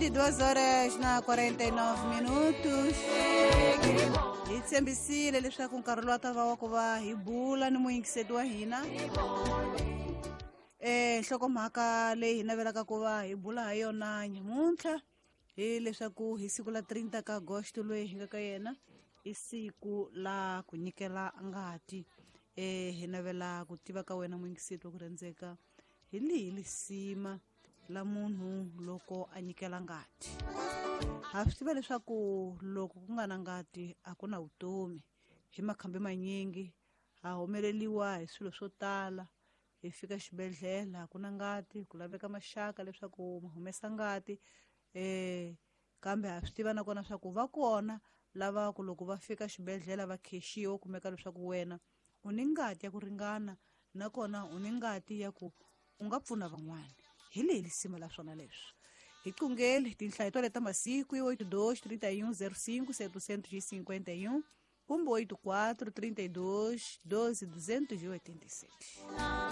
22 horas na 49 minutos. Hi tshembisile leswaku nkarhi lowu ta va wa ku va hi bula ni muyingiseti wa hina. Nhlokomhaka leyi hi navelaka ku va hi bula ha yona nyamuntlha hi leswaku hi siku la 30 ka agosto loyi hi nga ka yena i siku la ku nyikela ngati. Hi navela ku tiva ka wena muyingiseti wa ku rhandzeka hi lihi lisima la munhu loko a nyikela ngati. Ha swi tiva leswaku loko ku nga na ngati a ku na vutomi. Hi makhambi manyingi ha humeleliwa hi swilo swo tala. Hi fika xibedhlele a ku na ngati, ku laveka maxaka leswaku ma humesa ngati. Kambe ha swi tiva nakona swa ku va kona lava ku loko va fika xibedhlele va khexiwa, kumeka leswaku wena u ni ngati ya ku ringana nakona u ni ngati ya ku u nga pfuna van'wana. Hi leyi lisima la swona leswi. Hi qungeli tinhlayo to leta masiku i 82 31 05 751 kumbe 84 32 12 287.